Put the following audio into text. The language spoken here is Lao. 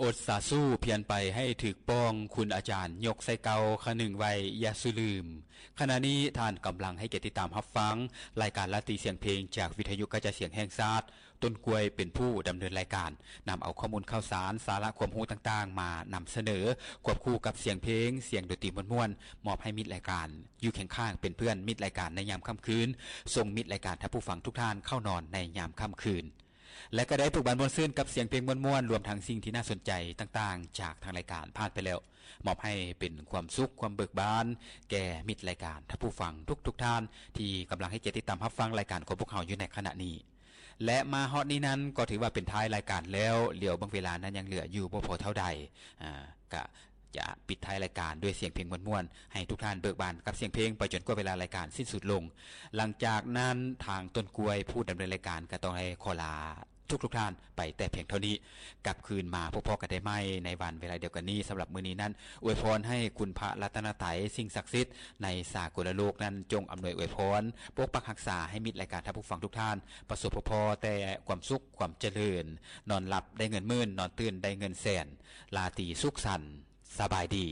ອົດສາສູ້ພຽນໄປໃຫ້ຖືກປ່ອງ, ຄຸນອາຈານຍົກໃສ່ເກົ່າ, ຄະນຶງໄວ້ຢ່າສູ່ລືມ. ຂະນະນີ້ທ່ານກຳລັງໃຫ້ກຽດຕິດຕາມຮັບຟັງລາຍການລາຕີສຽງເພງຈາກວິທະຍຸກະຈາຍສຽງແຫ່ງຊາດ, ຕົ້ນກ້ວຍເປັນຜູ້ດຳເນີນລາຍການ, ນຳເອົາຂໍ້ມູນຂ່າວສານ, ສາລະຄວາມຮູ້ຕ່າງໆມານຳສະເໜີ, ຄວບຄູ່ກັບສຽງເພງ, ສຽງດົນຕີມ່ວນໆ, ມອບໃຫ້ມິດລາຍການ, ຢູ່ຄຽງຂ້າງເປັນເພື່ອນມິດລາຍການໃນຍາມຄ່ຳຄືນ, ສົ່ງມິດລາຍການທ່ານຜູ້ຟັງທຸກທ່ານເຂົ້ານອນໃນຍາມຄ່ຳຄືນ. ແລະກໍໄດ້ເບີກບານມ່ວນຊື່ນກັບສຽງເພງມ່ວນໆ, ລວມທັງສິ່ງທີ່ໜ້າສົນໃຈຕ່າງໆຈາກທາງລາຍການຜ່ານໄປແລ້ວ, ມອບໃຫ້ເປັນຄວາມສຸກ, ຄວາມເບີກບານແກ່ມິດລາຍການ, ທ່ານຜູ້ຟັງທຸກໆທ່ານທີ່ກຳລັງໃຫ້ກຽດຕິດຕາມຮັບຟັງລາຍການຂອງພວກເຮົາຢູ່ໃນຂະນະນີ້. ແລະມາຮອດນີ້ນັ້ນກໍຖືວ່າເປັນທ້າຍລາຍການແລ້ວ, ຫຼຽວເບິ່ງເວລານັ້ນຍັງເຫຼືອຢູ່ບໍ່ພໍເທົ່າໃດ, ອາ ກະຈະປິດທ້າຍລາຍການດ້ວຍສຽງເພງມ່ວນໆ ໃຫ້ທຸກທ່ານເບີກບານກັບສຽງເພງໄປຈົນກວ່າເວລາລາຍການສິ້ນສຸດລົງ. ຫຼັງຈາກນັ້ນທາງຕົ້ນກ້ວຍຜູ້ດຳເນີນລາຍການກໍຕ້ອງໄດ້ຂໍລາທຸກໆທ່ານໄປແຕ່ພຽງເທົ່ານີ້. ກັບຄືນມາພົບພໍ້ກັນໄດ້ໃໝ່ໃນວັນເວລາດຽວກັນນີ້. ສຳລັບມື້ນີ້ນັ້ນ ອວຍພອນໃຫ້ຄຸນພະລັດຕະນະໄຕ, ສິ່ງສັກສິດໃນສາກົນລະໂລກນັ້ນ ຈົ່ງອຳນວຍອວຍພອນ, ປົກປັກຮັກສາໃຫ້ມິດລາຍການທ່ານຜູ້ຟັງທຸກທ່ານ ປະສົບພົບພໍ້ແຕ່ຄວາມສຸກ, ຄວາມຈະເລີນ, ນອນຫຼັບໄດ້ເງິນໝື່ນ, ນອນຕື່ນໄດ້ເງິນແສນ. ລາຕີສຸກສັນ, ສະບາຍດີ.